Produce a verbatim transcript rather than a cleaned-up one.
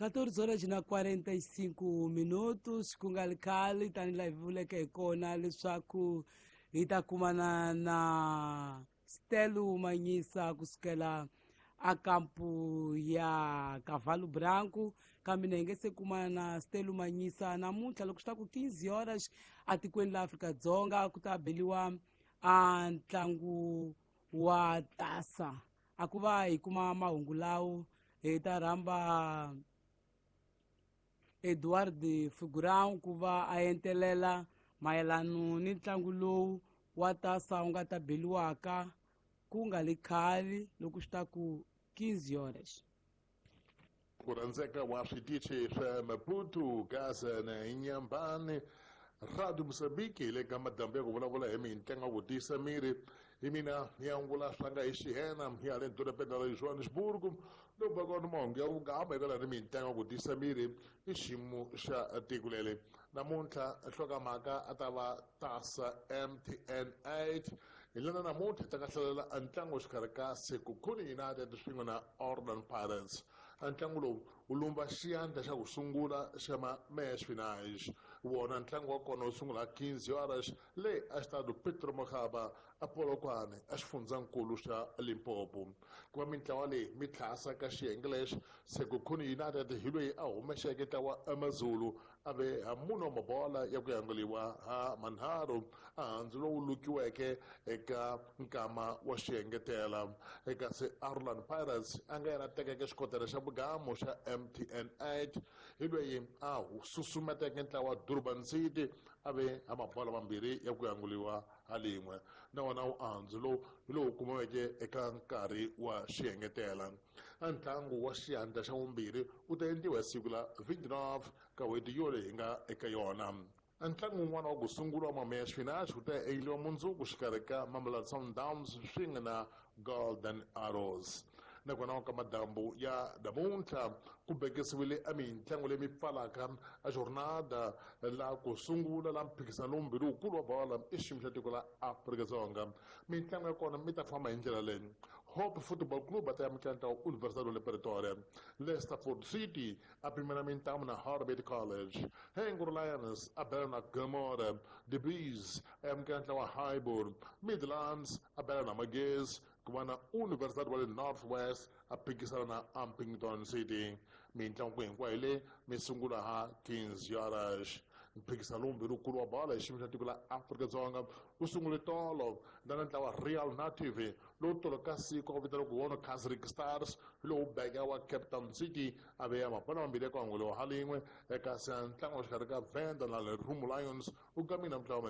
quatorze horas na quarenta e cinco minutos ku nga ri khale tanihi laha hi vuleke hi kona leswaku hi ta kumana na Stelo Manyisa kusukela a kampu ya Cavalo Branco, kambe na hi nge se kumana na Stelo Manyisa namuntlha loko swi ta ku quinze horas atikweni la Afrika-Dzonga ku ta beliwa a ntlangu wa tasa. A ku va hi kuma mahungu lawo hi ta rhamba Eduardo Figurão ku va a entelela mayelano ni ntlangu lowu wa tasa wu nga ta beliwaka ku nga li khale loko swi ta ku quinze horas. Ku rhandzeka wa switichi swa Maputo, Gaza na Inhambane, Radio Moçambique hi le ka madambu ya ku vulavula hi mintlangu ku tiyisa miri. Hi mina ni angula swanga hi xihena ya le dorobeni ra Johannesburg, lowu va kona mahungu ya vungama eka ni mintlangu ku tiyisa miri i xiyimo xa tiko leri. Namuntlha nhlokomhaka a ta va tasa M T N eight. Hi lena namuntlha ta nga hlalela ntlangu exikarhi ka Sekhukhune United swin'we na Orlando Pirates. Ntlangu lowu wu lumba xiyandla xa ku sungula xa ma-match finals. Wona ntlangu wa kona wu sungula quinze horas le a Estádio Pedro Mokaba a Polokwane a xifundzankulu xa Limpopo. Ku va mintlawa leyi mi tlhasa ka xiyenge lexi, Sekhukhune United hi loyi a humexeke ntlawa AmaZulu a ve ha munhu wa mabola ya ku yanguliwa ha manharhu a handzu lowu lukiweke eka nkama wa xiengetela. Eka se Orlando Pirates a nga yena tekeke xikotela xa vugamo xa M T N eight hi loyi a susumeteke ntlawa Durban City a ve ha mabola mambirhi ya ku yanguliwa ha lin'we. Na wona wu andzu lowu hi lowu kumiweke eka nkarhi wa xiengetela. Ntlangu wa xiyandla xa vumbirhi wu ta endliwa hi siku la vinte e nove ka n'hweti yoleyi hi nga eka yona. Ntlangu wun'wana wa ku sungula wa ma-match finals wu ta endliwa mundzuku xikarhi ka Mamelodi Sundowns swin'we na Golden Arrows. Nakona ka madambu ya namuntlha ku bekisiwile a mintlangu leyi mi pfalaka a jornada la ku sungula la mphikizano lowumbirhi wukulu wa bola i xiyimo xa tiko la Afrika-Dzonga. Mintlangu ya kona mi ta famba hi ndlela leyi: Hope Football Club a ta amukela ntlangu Universidade le Pretoria, Leicesterford City a pimela mintamu na Harbert College, Hengro Lions a bela na Gomora, The Bees a amukela ntlangu wa Highbury, Midlands a bela na Magesi, ku va na Universidade wa le North West a phikisana na Upington City. Mintlangu hinkwayo leyi mi sungula ha quinze horas. Mphikizano lowumbirhi wukulu wa bola hi xiyimo xa tiko la Afrika-Dzonga wu sungule tolo na ntlawa Real Native lowu tolo ka siku a ku vitaniwa ku wona Casric Stars lowu beka wa Cape Town City a veya mapala mambirhi ya ku anguliwa ha lin'we. Eka se ntlangu wa xikarhi ka Venda na Lerumo Lions wu gamile ntlawa